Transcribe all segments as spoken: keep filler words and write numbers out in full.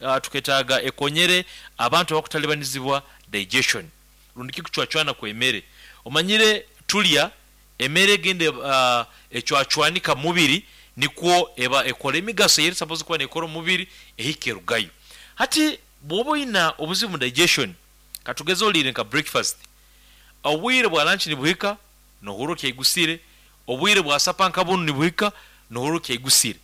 uh, tuketaaga ekonyere abantu abakutalibanizibwa digestion rundi kikucwacwana kw'emere. Omanyire tulya emere egenda uh, ecwacwanika mumubiri, nikwo eba ekora emigaso eyeri supposed kuba nekora omumubiri ehika erugayo. Hati bwoba oyina obuzibu mu digestion, katugeze oliire nka breakfast, obwire bwa lunch nibuhika nohurra okyaigusire, obwire bwa supper nka bunu nibuhika nohurra okyaigusire.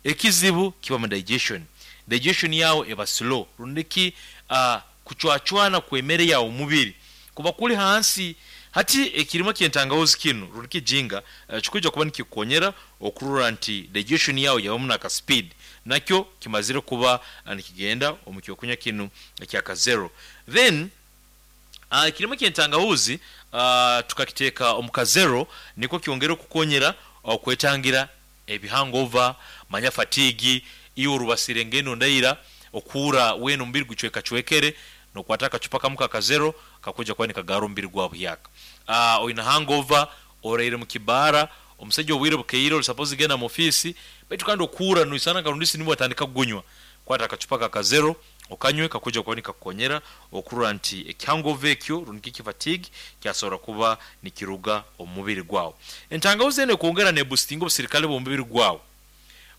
Ekizibu kiba mu digestion, digestion yaawe eba slow rundi ki uh, kucwacwana kw'emere yaawe omumubiri kuba kuli hansi. Hati ekirimo ky'entangahuzi kinu rundi ki ginger uh, kikwiija kuba nikikukonyera okurora nti digestion yaawe yabamu n'aka speed, nakyo kimazire kuba nikigenda omu kyokunywa kinu ekya Kazero. Then uh, ekirimo ky'entangahuzi uh, tukakiteeka omu Kazero nikwo kyongere okukonyera okwetangira ebi hangover, manya fatigue. Iwe orubasire ngendo ndaira, okuhurra weena omubiri gucwekacwekere, nokwata akacupa kamu ka Kazero kakwiija kuba nikagaarra omubiri gwawe buhyaka. uh, oyina hangover, oraire mukibaara omusaija, obwire bukeire, oli supposed kugenda mu ofiisi, baitu kandi okuhurra noisana nka rundisi nibwo watandika kugunywa, kwata akacupa ka Kazero okanywe, kakwiija kuba nikakukonyera okurora nti eki hangover ekyo rundi ki fatigue kyasobora kuba nikiruga omu mubiri gwawe. Entangahuzi enu ekwongera neboostinga obusirikale bw'omubiri gwawe.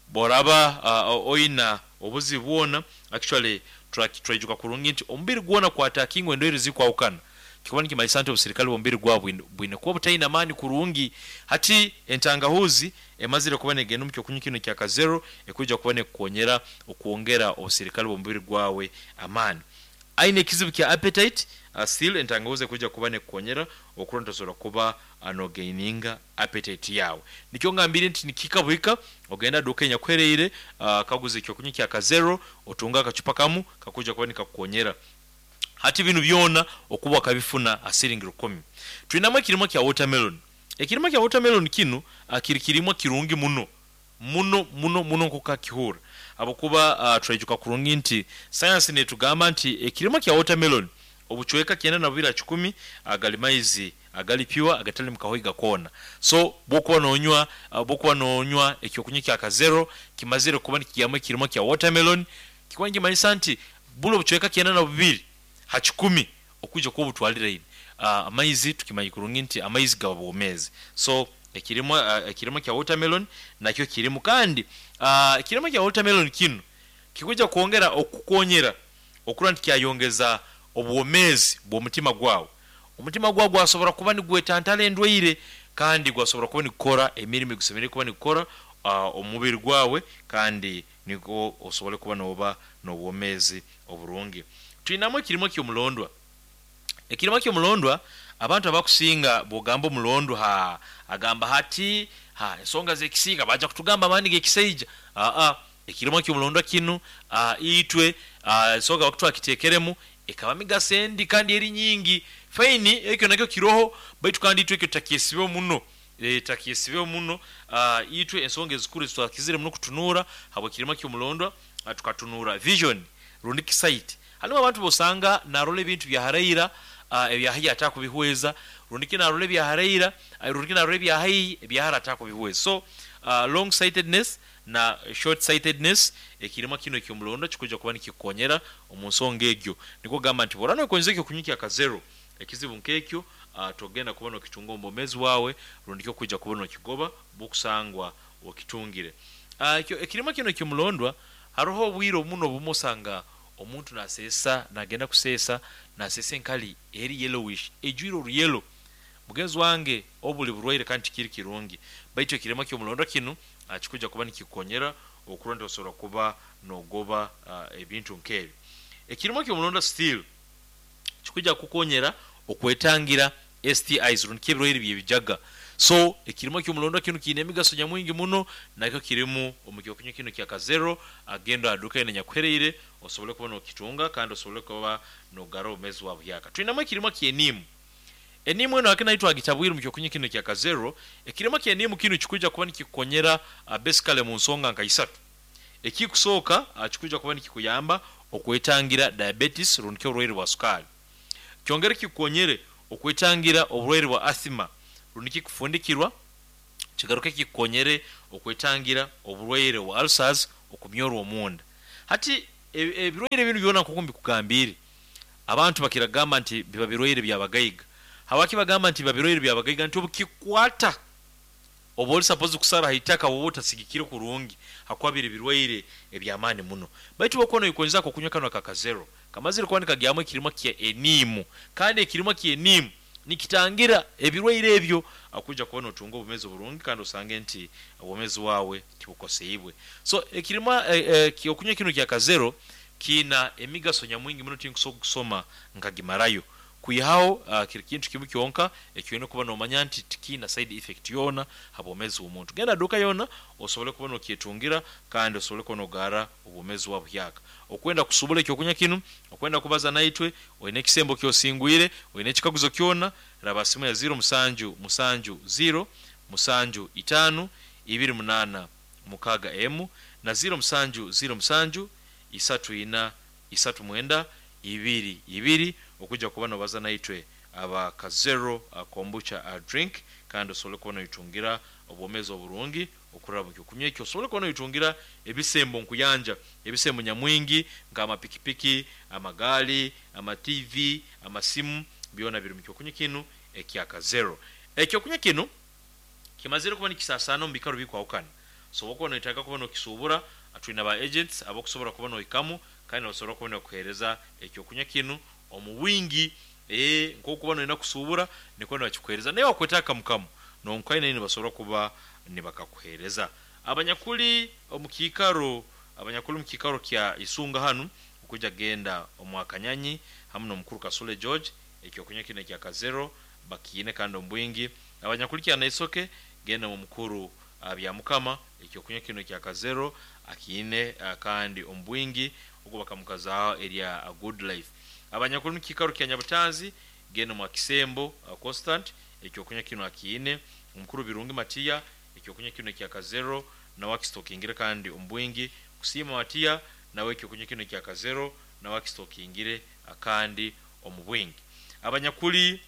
Bworaba uh, oyina obuzibu bwona, actually twaijuka kurungi nti omubiri gwona kwattackingwa endwaire ezikwahukana, kikuba nikimanyisa nti obusirikale bw'omubiri gwawe bwine kuba butaine amaani kurungi. Hati entangahuzi emazire kuba negenda omu kyokunywa kinu ekya Kazero ekwija kuba nekukonyera okwongera obusirikale bw'omubiri gwawe amaani. Aine ekizibu kya appetite, uh, still entangahuzi ekwija kuba nekukonyera okurora nti osobola kuba nogaininga appetite yawe. Nikyo ngambire nti nikihika buhika ogenda duka enyakuhereire, uh, kaguza ekyokunywa kya Kazero, otunga akacupa kamu kakwija kuba nikakukonyera. Hati binu byona okuba okabifuna ha siringi rukumi. Twinamu ekirimo kya watermelon. Ekirimo kya watermelon kinu uh, kiri kirimwa kirungi muno muno muno muno nk'oku kakihurra, habwokuba uh, twaijuka kurungi nti science netugamba nti ekirimo kya watermelon obucweka kyenda na bubiri ha kikumi agali maizi agali pure, agatali mukahoiga koona. So bwokuba nonywa bwokuba nonywa ekyokunywa kya Kazero kimazire kuba nikigyamu ekirimo kya watermelon, kikuba nikimanyisa nti buli obucweka kyenda na bubiri ha kikumi okwija kuba obutwaliraine. Amaizi tukimanyi kurungi nti amaizi gaba bwomeezi, so ekirimo ekirimo kya watermelon nakyo kirimu. Kandi ekirimo kya watermelon kinu kikwija kwongera okukukonyera okurora nti kyayongeza obwomeezi bw'omutima gwawe. Omutima gwawe gwasobora kuba nigwetantara endwaire, kandi gwasobora kuba nigukora emirimo egusemeriire kuba nigukora omu mubiri gwawe, kandi nikwo osobole kuba nooba n'obwomeezi oburungi. Twinamu ekirimo ky'omulondwa. Ekirimo ky'omulondwa, abantu abakusinga bwogamba omulondwa, ha agamba hati ha ensonga z'ekisiika, baija kutugamba amaani g'ekisaija. Aa ekirimo ky'omulondwa kinu, itwe ensonga habwaki twakiteekeremu, ekaba migaso endi kandi eri nyingi. Fine, ekyo nakyo kiroho, baitu kandi itwe ekyo tutakyesibeho muno, tutakyesibeho muno. Itwe ensonga ezikuru ezitwakizire muno kutunuura habw'ekirimo ky'omulondwa, tukatunuura vision rundi ki sight. Haroho abantu b'osanga naarora ebintu bya haraira, ebya haihi atakubihweza, rundi ki naarora ebya haraira, rundi ki naarora ebya haihi, ebya hara atakubihweza. So long sightedness na short sightedness, ekirimo kinu eky'omulondwa kikwija kuba nikikukonyera omu nsonga egyo. Nikwo kugamba nti bworaba nogonza ekyokunywa kya Kazero, ekizibu nk'ekyo togenda kuba nokitunga omu bwomeezi bwawe, rundi ki okwija kuba nokigoba bwokusangwa okitungire. Ekirimo kinu eky'omulondwa, haroho obwire obumu n'obumu osanga omuntu naseesa, nagenda kuseesa, naseesa enkali eri yellowish, eijwire oru yellow. Mugenzi wange, obu buli burwaire kandi tikiri kirungi, baitu ekirimo ky'omulondwa kinu kikwija kuba nikikukonyera okurora nti osobola kuba nogoba ebintu nk'ebi. Ekirimo ky'omulondwa still kikwija kukukonyera okwetangira S T Is rundi ki ebirwaire by'ebijaga. So ekirimo ky'omulondwa kinu kiine emigaso nyamwingi muno, nakyo kirimu omu kyokunywa kinu kya Kazero. Agenda ha duka yoona enyakuhereire osobole kuba nokitunga kandi osobole kuba nogarra obwomeezi bwawe buhyaka. Twinamu ekirimo ky'eniimu. Eniimu enu hake nayo twagitabwire omu kyokunywa kinu ekya Kazero. Ekirimo ky'eniimu kinu kikwija kuba nikikukonyera basically mu nsonga nka isatu. Ekikusooka, kikwija kuba nikikuyamba okwetangira diabetes rundi ki oburwaire bwa sukaali. Kyongere kikukonyere okwetangira oburwaire bwa asthma rundi ki kufundikirwa. Kigaruke kikukonyere okwetangira oburwaire bwa ulcers, okumyorwa omunda. Hati Ebirwaire binu byona nkoku mbikugambire, abantu bakiragamba nti biba birwaire byabagaiga. Habwaki bagamba nti biba birwaire byabagaiga? Nti obukikwata oba oli suppose kusara haitaka woba otasigikire kurungi, hakuba biri birwaire ebyamaani muno. Baitu bwokuba noyekonyeza okunywa kanu aka Kazero kamazire kuba nikagyamu ekirimwa kya eniimu, kandi ekirimwa kya eniimu nikitangira ebirwaire ebyo, akuija kuba notunga obwomezi oburungi kandi osange nti obwomezi bwawe tibukoseibwe. So ekirimwa okunywa kinu ekya Kazero kiina emigaso nyamwingi muno, tinkusobola kugisoma nkagimarayo, kwihaho kiri kintu kimu kyonka ekyoine kuba nomanya nti tikiina side effect yoona habwomezi bw'omuntu. Genda ha duuka yoona osobole kuba nokyetungira kandi osobole kuba nogaara obwomezi bwawe buhyaka. Okwenda kusubura ekyokunywa kinu, okwenda kubaza naitwe, oine ekisembo ekyosingwire, oine ekikaguzo kyona, raba simu ya ziro musanju musanju ziro musanju itaano ibiri munaana mukaaga emu na ziro musanju ziro musanju isatu ina isatu mwenda ibiri ibiri okuija kuba nobaza naitwe aba Kazero Kombucha drink, kandi osobole kuba noitungira obwomezi oburungi okuraba mu kyokunywa ekyo, osobole kuba noitungira ebisembo nkuyanja, ebisembo nyamwingi nk'amapikipiki, amagaali, ama T V, amasimu, byona biri mu kyokunywa kinu ekya Kazero. Ekyokunywa kinu kimazire kuba nikisasaana omu biikaro bikwahukana, so obu okuba noyetaaga kuba nokisuubura, twina ba agents abakusobora kuba nohikamu kandi nibasobora kuba nibakuheereza ekyokunywa kinu omu bwingi. Ee nkokuba noyenda kusuubura nikwo nibakikuheereza, naye wakwetaaga kamu kamu nonkaine nibasobora kuba nibakakuheereza. Abanyakuli omu kiikaro, abanyakuli omu kiikaro kya Isunga hanu okuija kugenda omu Akanyanyi hamu n'omukuru Kasule George, ekyokunywa kinu ekya Kazero bakiine kandi omu bwingi. Abanyakuli Kyanaisoke genda mu mukuru Byamukama, ekyokunywa kinu ekya Kazero akiine kandi omu bwingi, ogwo bakamukazaaho erya Good Life. Abanyakuli mu kiikaro kya Nyabutanzi genda mu Akisembo Constant, ekyokunywa kinu akiine. Omukuru Birungi Matiya, ekyokunywa kinu ekya Kazero nawe akistokingire kandi omu bwingi. Kusiima Matiya nawe ekyokunywa kinu ekya Kazero nawe akistokingire kandi omu bwingi. Abanyakuli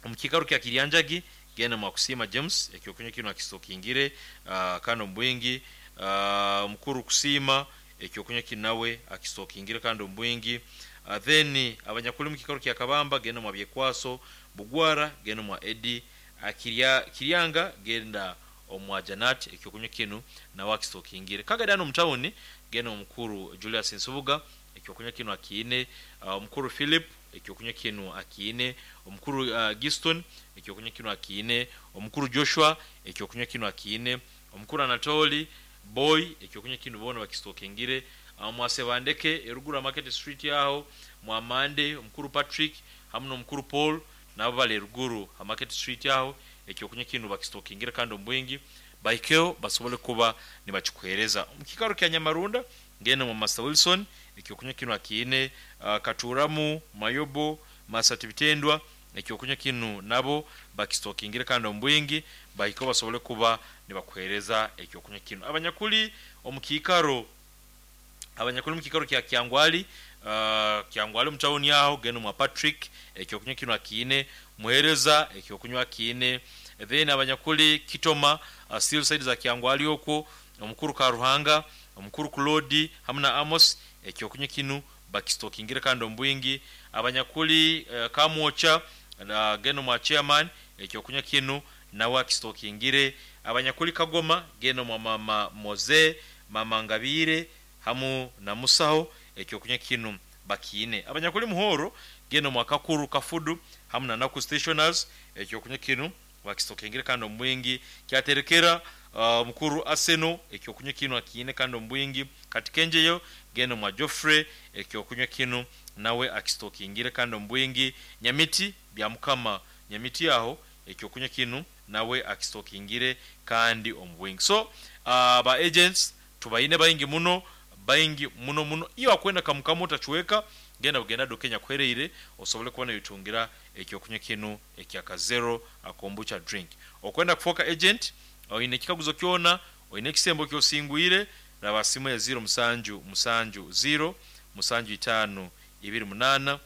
omu kiikaro kya Kiryanjagi genda mu Kusiima James, ekyokunywa kinu akistokingire kandi omu bwingi. Omukuru Kusiima ekyokunywa kinu nawe akistokingire kandi omu bwingi. Then abanyakuli mu kiikaro kya Kabamba genda mu Byekwaso Bugwara, genda mu Edi Kiryanga, genda omu Janat, ekyokunywa kinu nawe akistokingire. Kagadi hano mu tawuni genda omukuru Julius Nsubuga, ekyokunywa kinu akiine. Omukuru Philip, ekyokunywa kinu akiine. Omukuru Giston, ekyokunywa kinu akiine. Omukuru Joshua, ekyokunywa kinu akiine. Omukuru Anatoli Boy, ekyokunywa kinu boona bakistokingire. Mwasebandeke eruguru Market Street aho, Mwamande, omukuru Patrick hamu n'omukuru Paul nabo bali eruguru ha Market Street aho, ekyokunywa kinu bakistokingire kandi omu bwingi, bahikeho basobole kuba nibakikuheereza. Omu kiikaro kya Nyamarunda genda mu Master Wilson, ekyokunywa kinu akiine. Katuramu, Mayobo, Masati Bitendwa, ekyokunywa kinu nabo bakistokingire kandi omu bwingi, bahikeho basobole kuba nibakuheereza ekyokunywa kinu. Abanyakuli omu kiikaro, abanyakuli mu kiikaro kya Kyangwali, Kyangwali omu tawuni aho genda mwa Patrick, ekyokunywa kinu akiine. Muheereza, ekyokunywa akiine. Then abanyakuli Kitoma, still side za Kyangwali okwo, omukuru Karuhanga, omukuru Claude hamu na Amos, ekyokunywa kinu bakistokingire kandi omu bwingi. Abanyakuli Kamwocha, genda mwa chairman, ekyokunywa kinu nawe akistokingire. Abanyakuli Kagoma, genda mwa mama Moze, mama Ngabire hamu na Musaho, ekyokunywa kinu bakiine. Abanyakuli Muhoro, genda mwa Kakuru Kafudu hamu na Naku Stationers, ekyokunywa kinu bakistokingire kandi omu bwingi. Kyaterekera omukuru Aseno, ekyokunywa kinu akiine kandi omu bwingi. Katikenjeyo, genda mwa Joffrey, ekyokunywa kinu nawe akistokingire kandi omu bwingi. Nyamiti Byamukama, Nyamiti aho ekyokunywa kinu nawe akistokingire kandi omu bwingi. So ba agents tubaine baingi muno, baingi muno muno. Iyo akwenda kamukamu otachweka, genda bugenda duka kuhereire osobole kuba noyitungira ekyokunywa kinu ekya Kazero Kombucha drink. Okwenda kufoka agent, oine ekikaguzo kyona, oine ekisembo kyosingwire, raba simu ya ziro musanju musanju ziro musanju itaano ibiri munaana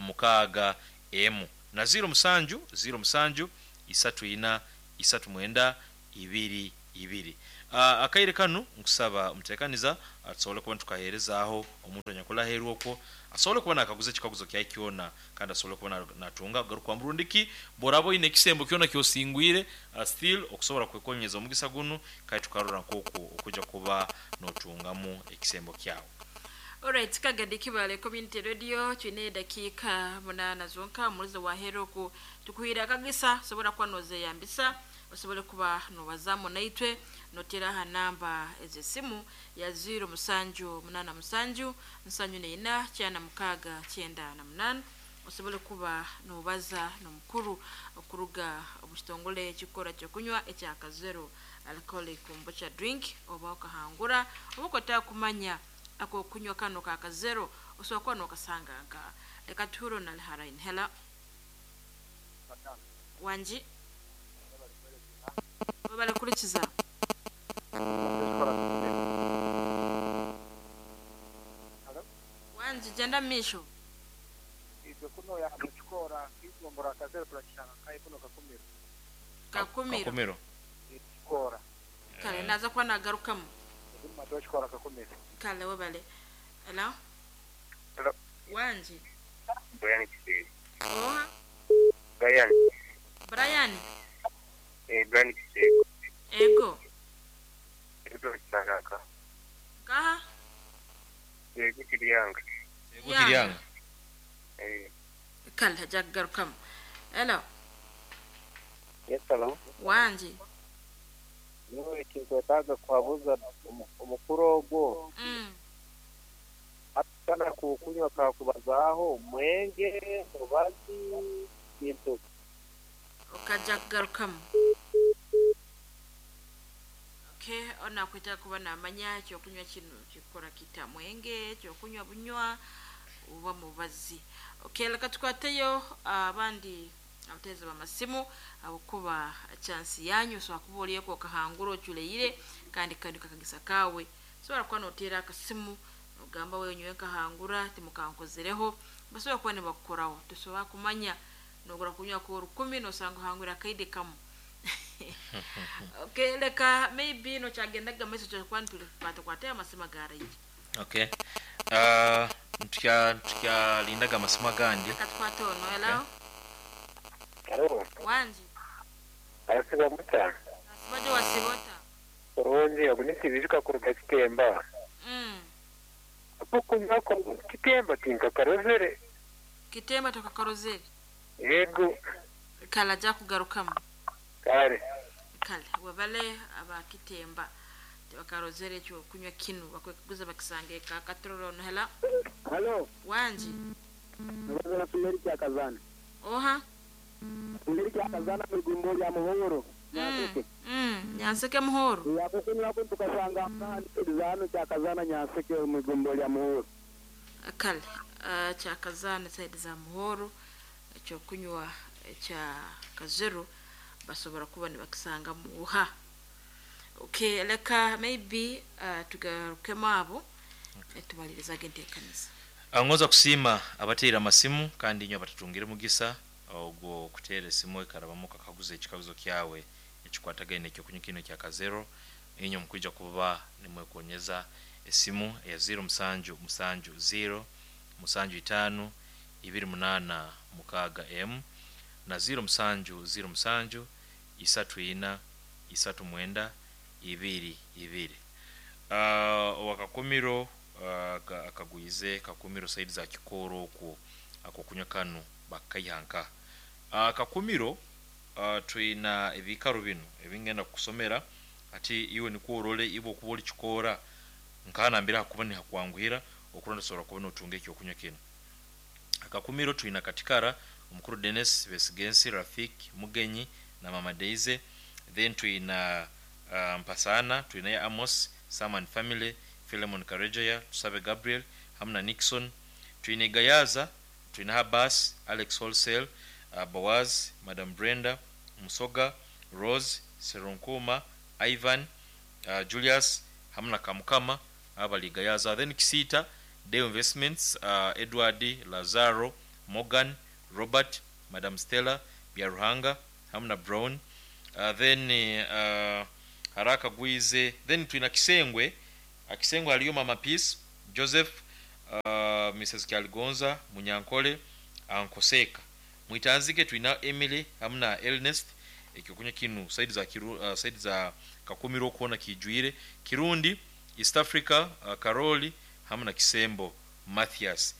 mukaaga emu na ziro musanju ziro musanju isatu ina isatu mwenda ibiri ibiri. Akaire kanu nkusaba mutekaniza Tusobole kuba nitukaheerezaaho omuntu anyakuli okwo asobole kuba nakaguza ekikaguzo kyaye kyona, kandi asobole kuba na- natunga kugarukwamu. Rundiki bworaba oyine ekisembo kyona kyosingwire, uh, still okusobola kwekonyeza omugisa gunu, kandi tukarora nk'oku okuja kuba notungamu ekisembo kyawe. Alright, kagadi Kibale Community Radio, twine dakiika munana zonka. Omulizo wahera oku tukuhira akagisa, sobola kuba nozeyambisa, osobole kuba nobazamu naitwe, notera aha namba ez'esimu ya ziro musanju munana musanju nsanju neina kyana mukaaga kyenda na munana, osobole kuba nobaza n'omukuru okuruga omu kitongole ekikora kyokunywa ekya Kazero Alcoholic Kombucha Drink, oba okahangura, oba okotaka kumanya akokunywa kano ka Kazero osobola kuba nokasanga nka. Leka tuhuro na harain. Hello, wanji, webale kurikiza. Wanji, genda misho. Itwe kuno yakukikora kigombora Kazero turakishanga kai kuno Kakumiro. Kakumiro. Kakumiro. Kikora. Kale naza kuba nagarukamu. Matokikora Kakumiro. Kale, webale. Hello. Hello. Wanji. Brian Kisiri. Oha? Brian. Brian. Eh, Brian Kisiri. Ego. Ego kisangaka. Kaha? Ego Kiryanga. Ego Kiryanga. Eh. Kale hajja kugarukamu. Hello. Yes, hello. Wanji. Niwe ekinkwetaaga kuhabuza omukuru ogwo. Mm. Atana kukunywa kakubazaaho mwenge, mubazi, kintu. Okajja kugarukamu. Okay, ona kwetaaga kuba namanya ekyokunywa kino kikora kita, mwenge, ekyokunywa bunywa oba mubazi. Okay, leka tukwateyo abandi abateezi b'amasimu abukuba chansi yanyu. Osobola kuba olieko okahangura oculeire, kandi kandi kakagisa kawe sobola kuba noteera akasimu ogamba wenywe nkahangura timukankozereho. Basobola kuba nibakukoraho. Tosobola kumanya, nogura kunywa ko rukumi nosanga ohangura akaide kamu. Okay, leka maybe nokyagendaga maiso kyakuba nitukwatakwate amasimu agaraije. Okay, uh, ntukya tukyalindaga amasimu agandi. Leka tukwate ono. Hello. Hello. Wanji. Arasiba muta. Nasibaje wasibota? Kurungi, ogunisibijuka kuruga Kitemba. Mm. Okunywa ko Kitemba tinkakarozere. Kitemba tokakarozere? Yego. Kale ajja kugarukamu. Kale. Kale webale abakitemba tebakarozere ekyokunywa kinu bakwekuguza bakisange kakatorora ono. Hello. Hello. Wanji. Nabaza na Sumeri Kyakazana. Oha? Sumeri Kyakazana mu igumbo lya Muhoro. Mm. Mm. Nyanseke Muhoro. Yakukunywa ko tukasanga zano Kyakazana Nyanseke mu igumbo lya Muhoro. Kale uh, Kyakazana side za Muhoro ekyokunywa ekya Kazero basobola kuba nibakisanga muha. Okay, leka maybe uh, tugarukemu abo okay. Tumalirizaga enteekaniza. Ngoza kusiima abateera amasimu, kandi inywe abatatungire mugisa ogwo kuteera esimu ekarabamu kakaguza ekikaguzo kyawe ekikwatagaine ekyokunywa kino ekya Kazero. Inywe mukwija kuba nimwekonyeza esimu eya ziro musanju musanju ziro musanju itaano ibiri munana mukaaga m na ziro musanju ziro musanju isatu ina isatu mwenda ibiri ibiri. Uh, wakakumiro uh, akagwize Kakumiro saidi za Kikoro okwo akokunywa kanu bakaihanka. Uh, Kakumiro uh, twina ebikaro bino ebingenda kusomera ati iwe nikwo orole ibo okuba oli kikora nkanambira hakuba nihakwanguhira okuronda sobola kuba notunga ekyokunywa kino. Akakumiro twina Katikara omukuru Dennis Besigensi, Rafik Mugenyi na Mama Deize. Then twina uh, Mpasana twina ya Amos Saman Family, Philemon Karejeya, Tusabe Gabriel hamna Nixon. Twine Gayaza twina Habas, Alex Wholesale, uh, Boaz, Madam Brenda Musoga, Rose Serunkuma, Ivan, uh, Julius hamna Kamukama abali Gayaza. Then Kisita Deo Investments, uh, Edward Lazaro, Morgan, Robert, Madam Stella Byaruhanga hamna Brown. Uh, then uh, Haraka Gwize. Then twina Kisengwe Akisengo haliyo Mama Peace Joseph, uh, Missus Kyaligonza Munyankole Ankoseka. Mwitanzike twina Emily hamu na Ernest. Ekyokunywa kinu side za kiru, uh, side za Kakumiro kuona kijwire Kirundi East Africa, uh, Karoli hamu na Kisembo Mathias.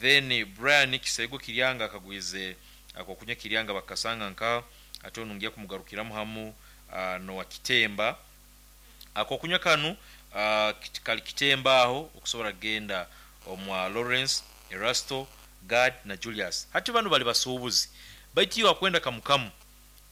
Then Brian Kisego Kiryanga akagwize akokunywa Kiryanga bakasanga nka ate onungiya kumugarukiramu hamu uh, no Kitemba akokunywa kanu uh, kali Kitemba aho okusobola genda omwa Lawrence Erasto Gad na Julius. Hati bano bali basuubuzi baitiyo akwenda kamukamu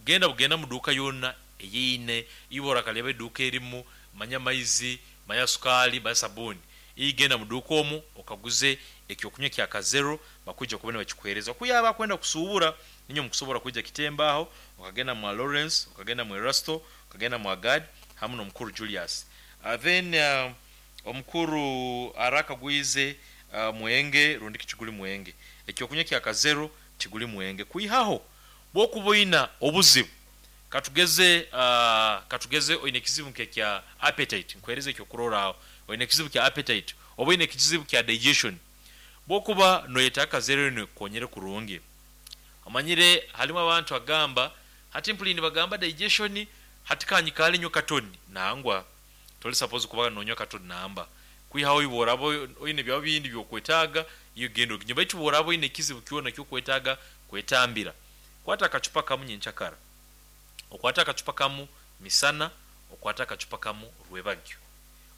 genda bugenda mu duka yonna eyine ibora kalebe eduka erimu manya maizi manya sukali manya sabuni igenda mu duka omu okaguze ekyokunywa kya Kazero bakuja kubona bakikuhereza kuyaba kwenda kusuubura ninyo mukusobola kuja Kitemba aho okagenda mu Lawrence okagenda mu Erasto okagenda mu Gad hamu no mukuru Julius. Uh, then uh, omukuru araka gwize uh, mwenge rundi kichiguli mwenge ekyokunywa kya Kazero kiguli mwenge kuihaho bwokuboina obuzibu katugeze uh, katugeze oine kizibu kya appetite nkwereze ekyo kurora oine kizibu kya appetite oba kizibu kya digestion bwokuba noyeta Kazero ne konyere kurungi amanyire halimu abantu agamba hati mpulini bagamba digestion hatikanyikale nyo katoni nangwa toli suppose kuba nonyo katoni namba kwihaho iborabo oine bya bindi byokwetaga iyo gendo kinyo baitu borabo ine kizibu kiona kyo kwetaga kwetambira kwata akachupa kamu nyenchakara okwata akachupa kamu misana okwata akachupa kamu rwebagyo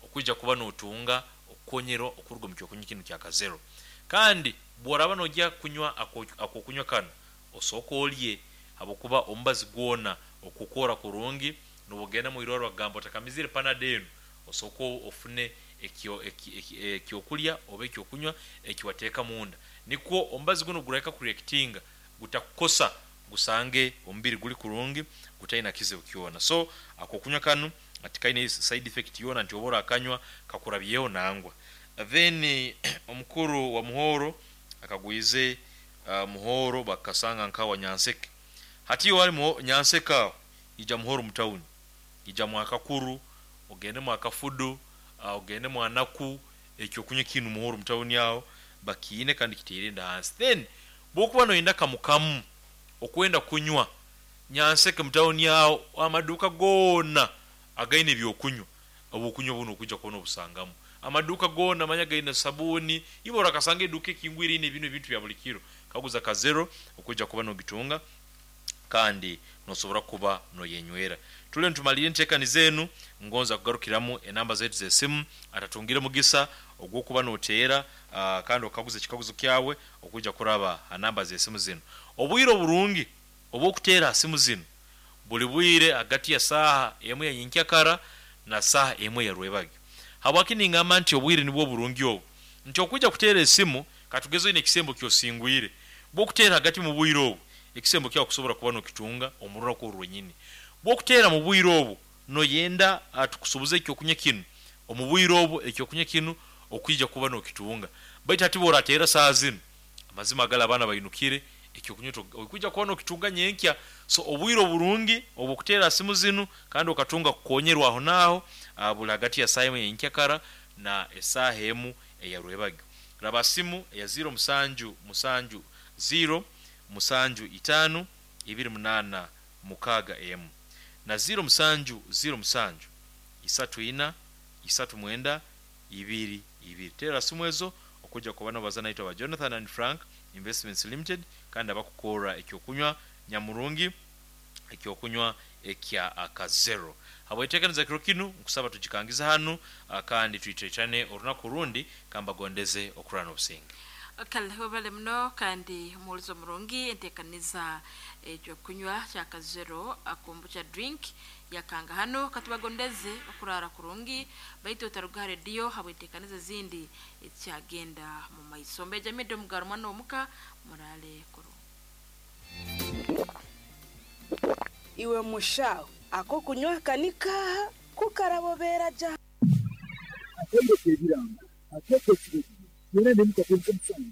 okuja kuba notunga okonyero okurugo mu kyokunywa kinu kya Kazero. Kandi bworaba nojya kunywa akokunywa kano osoko olye habokuba ombazi gwona okukora kurungi nobugenda mu irwaro bagamba otakamizire panadeno osoko ofune ekyo ekyokulya oba ekyokunywa ekiwateeka munda nikwo ombazi guno gureka kureactinga gutakukosa gusange omubiri guli kurungi gutaina kizibu kyona. So akokunywa kanu atikaine side effect yona nti obora akanywa kakurabyeho nangwa. Then omukuru wa Muhoro akagwize uh, Muhoro bakasanga nkawa Nyanseke hatiyo wali Nyanseka ija Muhoro mutauni ija mwakakuru ogende mwakafudu uh, ogende mwanaku ekyokunywa kinu Muhoro mutauni yao bakiine kandi kitirinda hansi. Then bokuba noyenda kamukamu okwenda kunywa Nyanseke mutauni yao amaduka gona againe byokunywa obukunywa buno okuja kuona obusangamu amaduka gona manya gaine sabuni ibora kasanga eduka ekingwire ine bino ebintu bya buli kiro kaguza Kazero okuja kuba nogitunga kandi nosobora kuba noyenywera. Tule ntumalire ntekani zenu ngonza kugarukiramu enamba zetu z'esimu atatungire mugisa ogwokuba noteera uh, kandi okaguza ekikaguzo kyawe okuja kuraba anamba z'esimu zino. Obwire oburungi obwokuteera simu zino buli bwire hagati ya saha emwe ya nyenkyakara na saha emwe ya rwebagyo. Habwaki ningamba nti obwire nibwo burungi obu nti okuja kuteera esimu katugezo ine ekisembo kyosingwire bwokuteera hagati mu bwire obu ekisembo kyawe kusobora kuba nokitunga omurura ko rwenyini bwokuteera mu bwire obu noyenda atukusubuze ekyokunywa kinu omu bwire obu ekyokunywa kinu okuija kuba nokitunga baitu ati borateera saha zino amazima agala abaana bayinukire ekyokunywa okuija kuba nokitunga nyenkya. So obwire oburungi obukuteera simu zinu kandi okatunga kukonyerwa aho naho buli hagati ya saha yenkyakara na esaha emu eya rwebagyo. Raba simu eya zero musanju musanju zero musanju itano ibiri munana mukaga emu na zero musanju zero musanju isatu ina isatu mwenda ibiri ibiri. Tera simu ezo okuja kubana bazana itwa ba Jonathan and Frank Investments Limited kandi abakukora ekyokunywa nyamurungi ekyokunywa ekya Akazero. Habwetekaniza kiro kinu nkusaba tujikangiza hanu kandi tuitetane orunaku rundi kambagondeze okurana obusinge. Kale wabale muno kandi omuwulizo murungi entekaniza ekyokunywa kya Kazero akombucha drink yakanga hano katubagondeze okurara kurungi baitu otaruga radio habwetekaniza zindi ekyagenda mu maiso mbeja mido mugarumano omuka murale kurungi. Iwe mushaho ako kunywa kanika kukarabobera ja akende kebiranga akeke kibiri yena nemuka kwenye msango.